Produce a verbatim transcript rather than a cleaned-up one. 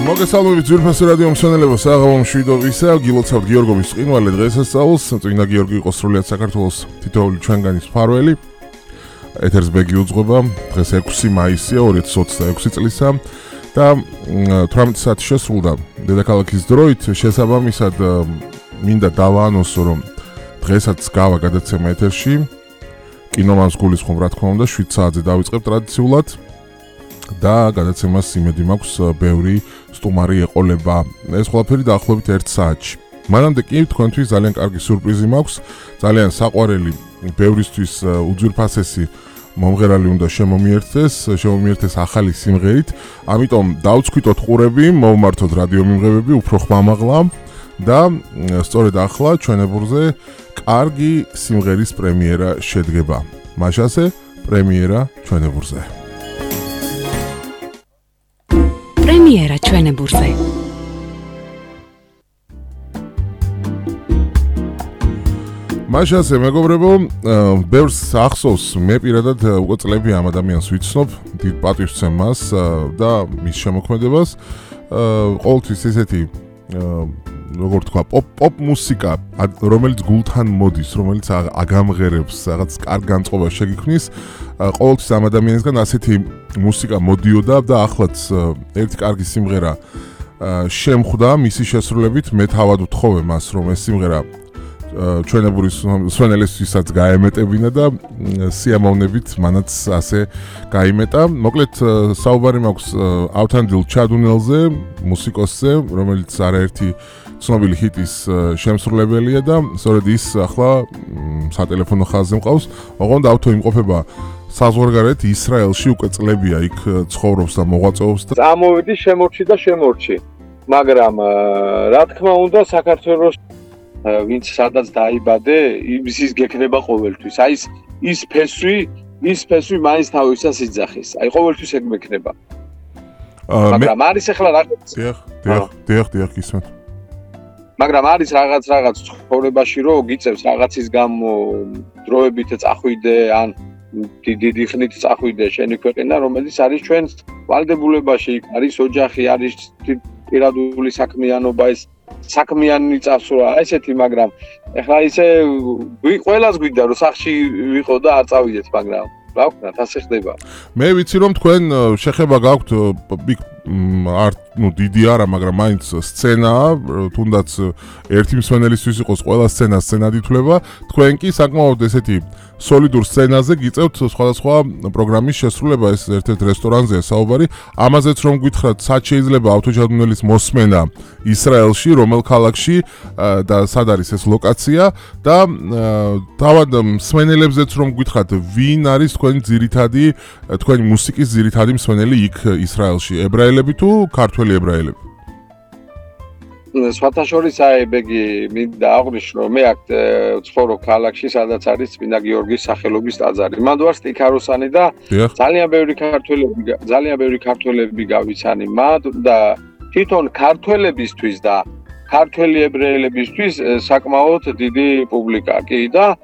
მოგესალმებით ძვირფასი რადიო მსმენელებო, საღამო მშვიდობისა, გილოცავთ გიორგოვის ყინვალე დღესასწაულს, წმინდა გიორგი იყო სრულიად საქართველოს თითოეული ჩვენგანის მფარველი. ეთერს ბეგი უძღვება, დღეს ექვსი მაისია ორი ათას ოცდაექვსი წლისა და თვრამეტი საათი შესრულდა დედაქალაქის დროით, შესაბამისად მინდა დავაანონსო, რომ დღესაც გავა გადაცემა ეთერში. კინომანს გულისხმობ, რა თქმა უნდა, შვიდ საათზე დავიწყებ ტრადიციულად. და გადაცემას იმედი მაქვს ბევრი სტუმარი ეყოლება. ეს ყველაფერი დაახლოებით ერთ საათში. მანამდე კი თქვენთვის ძალიან კარგი სიურპრიზი მაქვს, ძალიან საყვარელი, ბევრისთვის უძვირფასესი მომღერალი უნდა შემომიერთდეს, შემომიერთდეს ახალი სიმღერით. ამიტომ დავწქვიტოთ ყურები, მოვმართოთ რადიო მიმღებები, უფრო ხმამაღლა და სწორედ ახლა ჩვენებურზე კარგი სიმღერის პრემიერა შედგება. მაშასე პრემიერა ჩვენებურზე. პრემიერა ჩვენებურზე. მაშასე მეგობრებო, ბევრს ახსოვს, მე პირადად უკვე წლები ამ ადამიანს ვიცნობ, დიდ პატივს ვცემ მას და მის შემოქმედებას. ყოველთვის ესეთი როგორ თქვა, პოპ პოპ მუსიკა, რომელიც გულთან მოდის, რომელიც აგამღერებს, რაღაც კარგ განწყობას შეგიქმნის. ყოველთვის ამ ადამიანისგან ასეთი მუსიკა მოდიოდა და ახლაც ერთი კარგი სიმღერა შემხვდა მისი შესრულებით. მე თავად ვთხოვე მას, რომ ეს სიმღერა ჩვენებურის მსმენელისთვისაც გაემეტებინა და სიამოვნებით მანაც ასე გაიმეტა. მოკლედ საუბარი მაქვს ავთანდილ ჩადუნელზე, მუსიკოსზე, რომელიც არაერთი ცნობილი ჰიტის შემსრულებელია და სწორედ ის ახლა სატელეფონო ხაზზე მყავს. ოღონდ ავთო იმყოფება საზღვარგარეთ ისრაელში, უკვე წლებია იქ ცხოვრობს და მოღვაწეობს და წამოვიდი შემორჩი და შემორჩი. მაგრამ რა თქმა უნდა საქართველოს ვინც სადაც დაიბადე, იმის გექნება ყოველთვის. აი ის ის ფესვი, ის ფესვი მაინც თავისას იძახის. აი ყოველთვის ეგ მექნება. მაგრამ არის ახლა რაღაც. დიახ, დიახ, დიახ, დიახ, ისმენთ. მაგრამ არის რაღაც რაღაც ცხოვრებაში რომ გიწევს რაღაცის გამო დროებით წახვიდე ან დიდი ხნით წახვიდე შენი ქვეყანა, რომელიც არის ჩვენს ვალდებულებაში, იქ არის ოჯახი, არის პირადული საქმიანობა, ეს საქმიანი წასვლა, ესეთი, მაგრამ ეხლა ისე ყველას გვინდა რომ სახში ვიყო და არ წავიდეთ, მაგრამ რა ვქნათ, ასე ხდება. მე ვიცი რომ თქვენ შეხება გაქვთ არ ნუ დიდი არა, მაგრამ მაინც სცენაა, თუნდაც ერთი მსმენელისთვის იყოს ყველა სცენა სცენად ითვლება. თქვენ კი საკმაოდ ესეთი სოლიდურ სცენაზე გიწევთ სხვადასხვა პროგრამის შესრულება, ეს ერთ-ერთ რესტორანზეა საუბარი. ამაზეც რომ გითხრათ, სად შეიძლება ავთოჩადუნელის მოსმენა ისრაელში, რომელ ქალაქში და სად არის ეს ლოკაცია და თავად მსმენელებზეც რომ გითხრათ, ვინ არის თქვენი ძირითადი, თქვენი მუსიკის ძირითადი მსმენელი იქ ისრაელში, ებრაელები თუ ქართველი ებრაელები? სხვათა შორის აი ბეგი მინდა აღვნიშნო, მე აქ ვცხოვრობ ქალაქში, სადაც არის წმინდა გიორგის სახელობის ტაძარი. მანდ ვარ სტიქაროსანი და ძალიან ბევრი ქართველები, ძალიან ბევრი ქართველები გავიცანი მათ და თვითონ ქართველებისთვის და ქართველი ებრაელებისთვის საკმაოდ დიდი პუბლიკა კი და